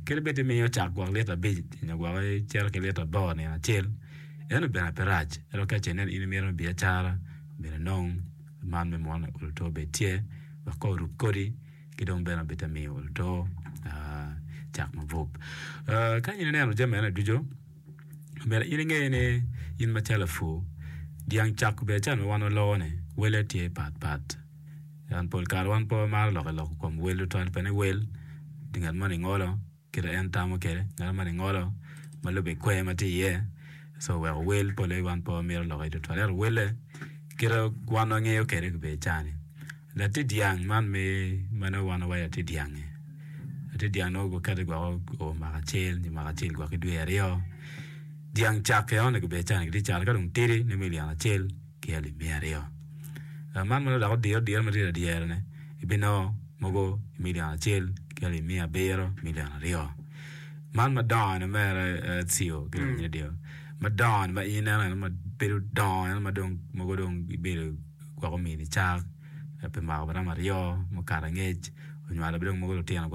Kadi bed imiyo cak gwok lita abic nyo gwok icito ki lita aboro nino acel, ento bene pe rac. Ento ka ce inen in imito me biacara, myero inong man me munu oluto obed tye wek ka orub kodi ki dong bene obed te miyo oluto cak mabup. Ka in ineno jami eni ducu, myero in inge ni in macalo lapur, dyang cak obedo acel ma wan waloko-ni wele tye patpat. Pien pol kare wan pe wamaro lok i lok kom wel tutwal pien ni wel tye ngat moni ngolo kite en tamo kwede, ngat moni ngolo ma lube ki kwer ma tye iye co oweko wel pole wan pe wamito lok iye tutwal ento welle kite wan wangeyo kwede obedo cani latin dyang man me ma nongo wan wawaco latin dyang-ngi latin dyang nongo gukete gwoko oo mwaka acel nyo mwaka acel gwok ki dwe aryo dyang cak enoni gubedo cani gitye cato ka dong tidi nongo milion acel ki alip miya aryo. Man ma dok odiro diro ma tye ladyere-ni ibinongo mogo i milion acel ki alip miya abiro milion aryo. Man madongo-ni mere cio ki dong radio madongo-ni ma in ineno eno ma bedo dongo eno ma dong mogo dong ibedo gwok omini cak pi mwaka ma romo aryo mukato angec onywalo bene dong mogo lutino gwok.